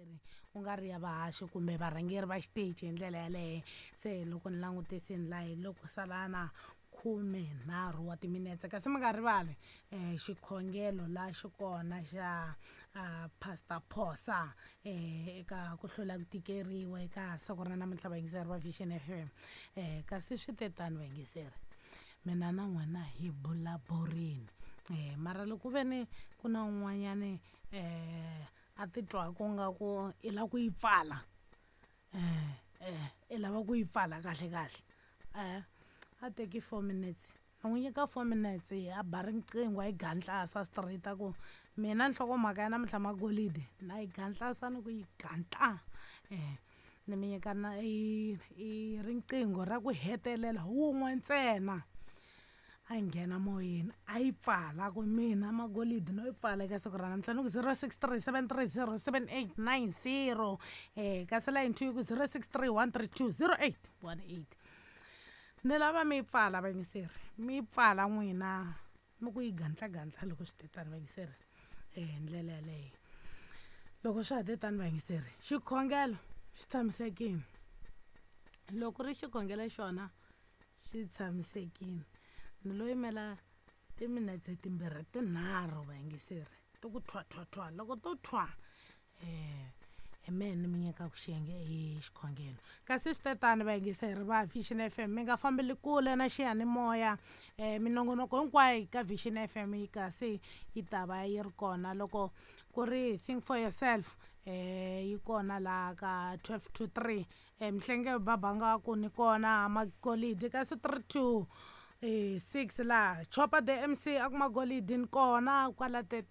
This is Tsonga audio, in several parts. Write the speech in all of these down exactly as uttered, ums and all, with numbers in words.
Vayingiseri ku nga ri ya vahaxi kumbe varhangeri va xiteji hi ndlela yaleyo. Se loko ni langutisini laha hi loko sala na khumenharhu wa timinetse, kasi mi nga rivali um xikhongelo la xi kona xa uh, Pastor Phosa um eka ku hlula ku tikeriwa eka siku ra namuntlha, vayingiseri va Vision F M. um kasi swi te tani vayingiseri, mina na n'wina hi bulaburini um mara loko ve ni ku na un'wanyani um a titwaku nga ku i lava ku yi pfala, um um i lava ku yi pfala kahle kahle, um a teki four minutes, ni n'wi nyika four minutes, a ba riqingho a yi gandlasa straight, a ku mina nhlokomhaka ya namuntlha magolidi na yi gandlasa ni ku yi gantla. um ni mi nyika na i i riqingho ra ku hetelela wun'we ntsena, a nghena moyeni a yi pfala ku mina magolidi no yi pfala eka siku ra namuntlha. Ni ku zero six three seven three zero seven eight nine zero, um kasi line two yi ku zero six three one three two zero eight one eight. Ni lava mi yi pfala vayingiseri, mi yi pfala n'wina mi ku yi gandlagandla loko swi te tani vayingiseri hi ndlela yaleyo. Loko swa ha te tani vayingiseri, xikhongelo xi tshamisekile, loko ri xikhongelo xona xi tshamisekile, ni lo yimela timinetse timbirhi tinharhu vayingiseri ti ku thwa thwa thwa, loko to thwa um hi mehe ni mi nyikaku xiyenge i xikhongelo. Kasi swi te tani vayingiseri va Vision F M, mi nga fambeli kule na xiyanimoya, um minongonoko hinkwayo ka Vision F M yi kasi yi ta va yi ri kona. Loko ku ri Think for Yourself um yi kona laha ka twelve to three, um Mhlenge Babanga ku ni kona magolidi, kasi three to um six laha Chopa the M C a ku magolidi ni kona kwala te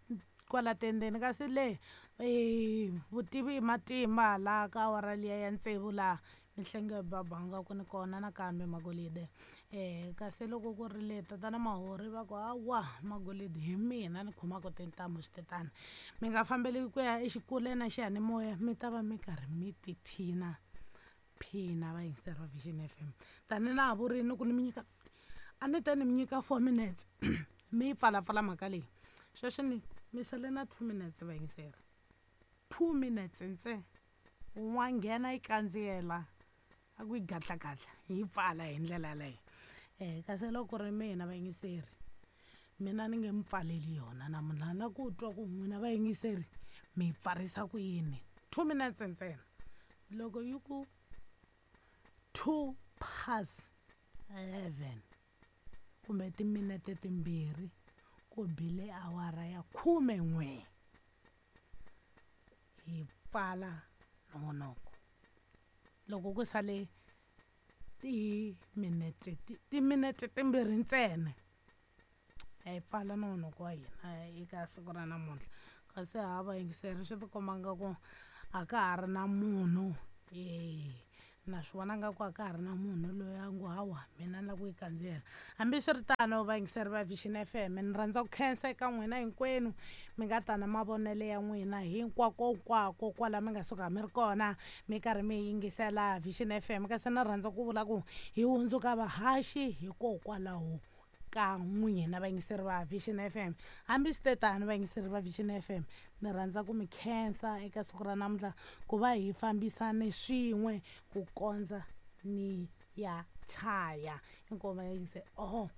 kwala tendeni. Kasi le um vutivi i matimba laha ka awara liya ya tsevu laha Mhlenge Babanga ku ni kona nakambe magolide. um kasi loko ku ri le tatana Mahori va ku hawa magolidi hi mina ni khomaka tintambu swi tetana, mi nga fambeli ku ya exikule na xiyanimoya, mi ta va mi karhi mi tiphina phina vayingiseri va Vision F M. Tani na ha vurini ku ni mi nyika, a ni te ni mi nyika four minutes mi yi pfalapfala mhaka leyi, sweswi ni mi sale na two minutes vayingiseri, two minutes ntsena, wa nghena yi kandziyela a ku yi gadlagadla hi yi pfala hi ndlela yaleyo. um kasi loko ku ri mina vayingiseri, mina ni nge mi pfaleli yona namuntlha, na ku twa ku n'wina vayingiseri mi yi pfarisa ku yini. Two minutes ntsena, loko yi ku two past eleven kumbe timinete timbirhi ku bile awara ya khume n'we, hi pfala nongonoko. Loko ku sale timinete timinete timbirhi ntsena hi pfala nongonoko wa hina eka siku ra namuntlha. Kasi ha vayingiseri swi tikomba nga ku a ka ha ri na munhu, e na swi vona nga ku a ka ha ri na munhu loyi a ngo hawa mina ni lava ku yi kandziyela. Hambiswiritano vayingiseri va Vision F M, ni rhandza ku khensa eka n'wina hinkwenu mi nga ta na mavonelo ya n'wina hinkwakonkwako kwala mi nga suka mi ri kona mi karhi mi yingisela Vision F M. Kasi ni rhandza ku vula ku hi hundzuka vahaxi hikokwalaho ka n'wina vayingiseri va Vision F M. Hambi swi te tano vayingiseri va Vision F M, ni rhandza ku mi khensa eka siku ra namuntlha ku va hi fambisane swin'we ku kondza ni ya chaya. Inkomu vayingiseri, oho